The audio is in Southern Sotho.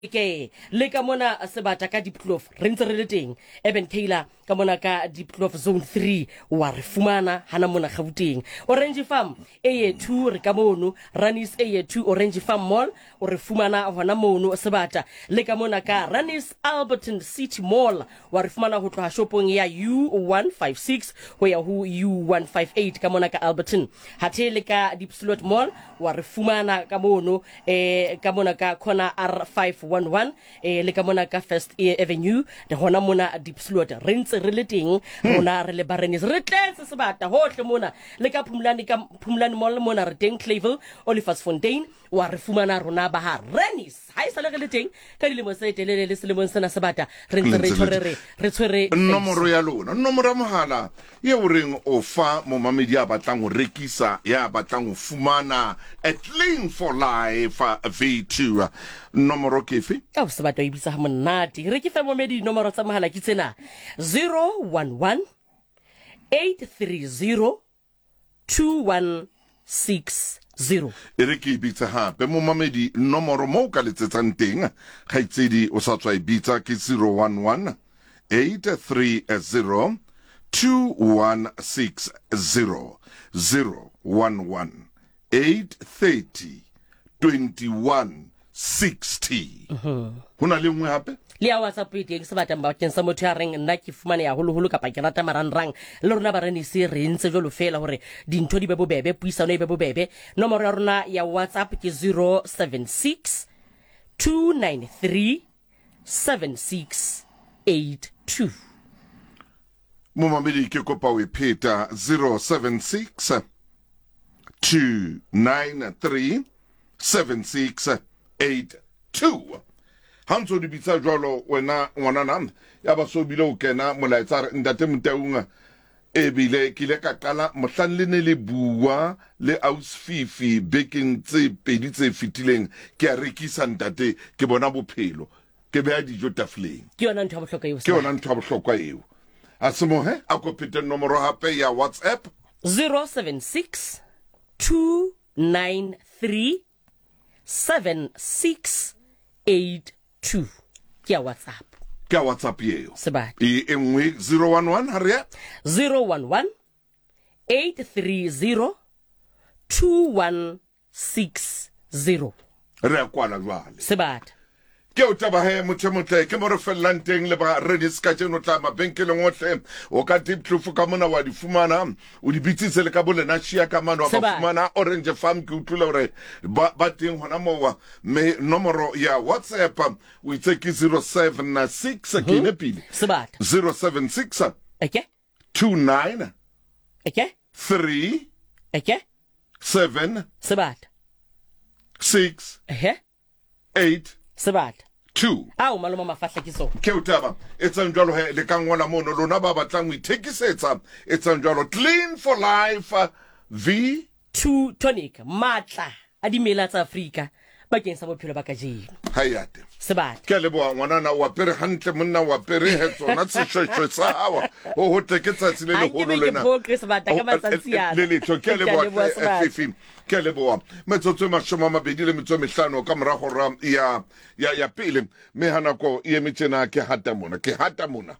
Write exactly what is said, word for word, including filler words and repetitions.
Ke le ka mona sebata ka Diepkloof re ntse re le teng. Eben Kayla ka mona ka Diepkloof zone three wa re fumana hana mona Gauteng. Orange Farm A two re ka mono, Ranis A two Orange Farm Mall o re fumana hona mono sebata. Le ka mona ka Ranis Alberton City Mall wa re fumana ho tloha shopong ya U one five six ho ya ho U one five eight ka mona ka Alberton. Hathe le ka Diepsloot Mall wa re fumana ka mono, eh, ka mona ka corner R five one one, eh, le ka mona ka First Avenue le hona mona Diepsloot re ntse re le teng rona re le Barenis re tletse sebata hohle mona le ka Phumlani, ka Phumlani Mall mona re teng Clayville Olifantsfontein wa re fumana rona ba ha Renis ha e sale re le teng ka dilemo tse telele le selemong sena sebata re ntse re tshwere re re tshwere nomoro ya lona nomoro ya mohala ye o reng o fa momamedi ya batlang ho rekisa ya batlang ho fumana a Clean for Life V two nomoro ke efe? Ka sebata o bitsa ha monate re ke fe momedi nomoro tsa mohala ke tsena zero one one eight three zero two one six zero. E re ke bitsa hape momamedi nomoro mo ka letsetsang teng kgaitsedi o sa tswa e bitsa ke zero one one eight three zero two one six zero zero one one eight thirty twenty one sixty. Ho na le nngwe hape le ya WhatsApp e teng sebata bakeng sa motho ya reng nna ke fumane ya holoholo kapa ke rata marangrang le rona ba Renise re ntse jwalo fela hore dintho di be bobebe puisano e be bobebe. Nomoro ya rona ya WhatsApp ke zero seven six two nine three seven six eight two. Momamedi ke kopa o e pheta zero seven six two nine three seven six eight two. Ha ntso di bitsa jwalo wena ngwanana ya ba so bile o kena molaetsa re ntate Motaung e bile ke ile ka qala mohlang le ne le bua le Ausfifi bekeng tse pedi tse fetileng ke a rekisa ntate ke bona bophelo ke beha dijo tafoleng. Ke yona ntho ya bohlokwa eo. Ke yona ntho ya bohlokwa eo. A se mohe a ko phete nomoro hape ya WhatsApp zero seven six two nine three seven six eight two. Ke ya WhatsApp. Ke ya WhatsApp eo. Sebata. E e nngwe zero one one ha re ya zero one one eight three zero two one six zero. Re a kwala jwale. Sebata. Ke o taba he motho motle ke mo re fellang teng le ba Renis ka tjeno tla mabenkeleng ohle o ka Diepkloof ka mona wa di fumana o di bitsitse le ka bolena shia ka mano wa ba fumana Orange Farm ke utlwile hore ba ba teng hona moo me nomoro ya WhatsApp o itse ke zero seven six ke ne pele Sebata zero seven six okay two nine okay three okay seven Sebata six eh eight Sebata two. Ao maloma mafahla ke so. Ke o taba etsang jwalo he le ka ngola mono lona ba batlang ho ithekisetsa etsang jwalo Clean for Life V two tonic matla a dimela tsa Afrika bakeng sa bophelo ba kajeno. Hayate. Sebata. Ke leboha ngwanana wa pere hantle monna wa pere he tsona seshweshwe sa hawa ho ho tle ke tsatsi le leholo lena. Ha ke be ke sebata ka matsatsi ana. Le letho ke leboha Fifi. Ke leboha metsotso e mashome a mabedi le metso e mehlano ka mora hora ya ya ya pele mme ha nako e eme tjena ke hata mona ke hata mona.